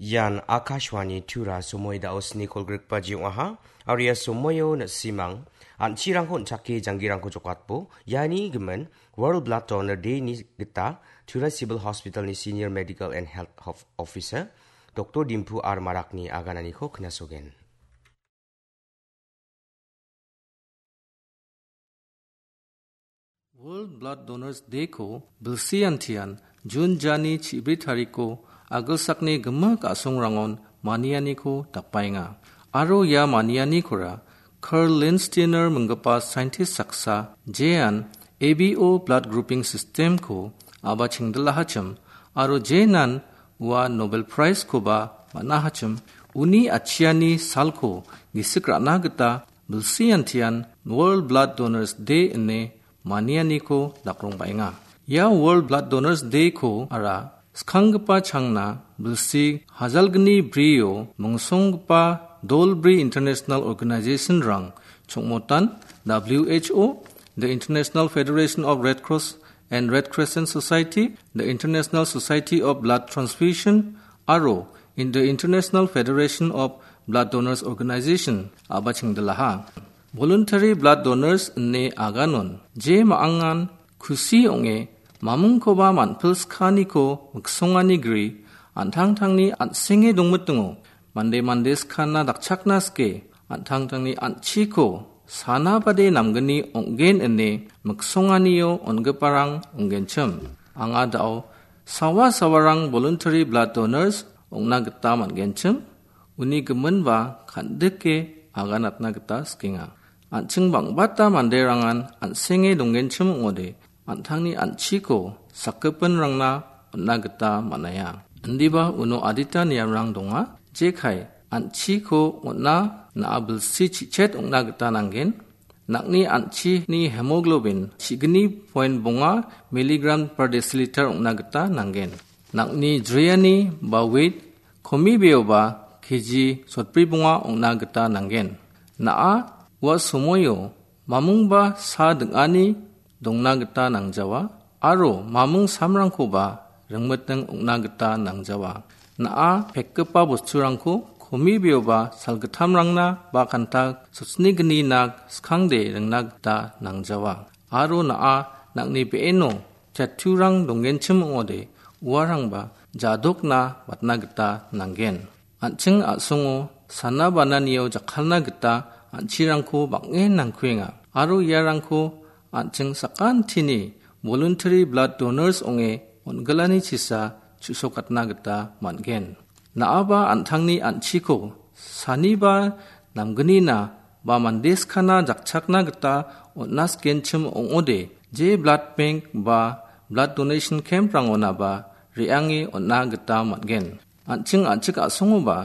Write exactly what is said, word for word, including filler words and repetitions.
Ian Akashvani Tura somoi dao sni kolgrikbaji ong·aha. Aro ia somoio na·simang an·chirangko on·chake janggirangko jokatbo. Iani gimin World Blood Donor Day-ni gita Tura Civil Hospital-ni Senior Medical and Health Of-, Officer Doktor Dimpu R Marakni agananiko knasogen. World Blood Donors Day-ko bilsi antian Jun jani chibri tariko agilsakni gimik a·songrangon manianiko dakbaenga. Aro ia manianikora Carl Lindsteiner minggipa scientist saksa jean A B O blood grouping system-ko a·bachengdilahachim aro jenan ua Nobel Prize-koba man·ahachim, uni atchiani salko gisik ra·na gita bilsi antian World Blood Donors Day ine manianiko dakrongbaenga. Ia World Blood Donors Day-ko ara skanggipa changna bilsi hajalgni brio mingsonggipa dolbri international organization-rang chongmotan W H O, the International Federation of Red Cross and Red Crescent Society, the International Society of Blood Transfusion, aro in the International Federation of Blood Donors Organization a·bachengdilaha. Voluntary blood donors ine aganon je ma·angan kusi ong·e mamingkoba man·pilskaniko miksongani gri an·tangtangni an·senge dongmitingo. Mande mande skana dakchakna sike an·tangtangni an·chiko sana bade namgni ong·gen ine miksonganio on·giparang ong·genchim. Anga dao sawa sawarang voluntary blood donors ong·na gita man·genchim. Uni giminba kan·dike aganatna gita sikenga. An·ching bang·bata manderangan an·senge donggenchim ong·ode, an·tangni an·chiko sakgipinrangna on·na gita man·aia. Indiba uno adita niamrang donga, jekai an·chiko on·na na·a bilsi chi·chet ong·na gita nanggen. Nang·ni an·chini hemoglobin chigni point bonga milligram per deciliter ong·na gita nanggen. Nang·ni jriani ba weight komibeoba K G sotbri bonga ong·na gita nanggen. Na·a ua somoio mamungba sa ding·ani dongna gita nangjawa aro mamung samrangkoba ringmiting ong·na gita nangjawa. Na·a pekgipa bosturangko komibeoba salgittamrangna ba kanta sotni gni nak skangde ringna gita nangjawa. Aro na·a nang·ni be·eno chatturang donggenchim ong·ode, uarangba jadokna watna gita nanggen. An·ching a·songo sana bananio jakkalna gita an·chirangko bang·en nangkuenga. Aro iarangko an·ching sakantini voluntary blood donors ong·e on·gilani chisa chu·sokatna gita man·gen. Na·aba an·tangni an·chiko saniba namgnina ba mande skana jakchakna gita on·na sikenchim ong·ode, je blood bank ba blood donation camp-rangonaba re·ange on·na gita man·gen. An·ching an·chik a·songoba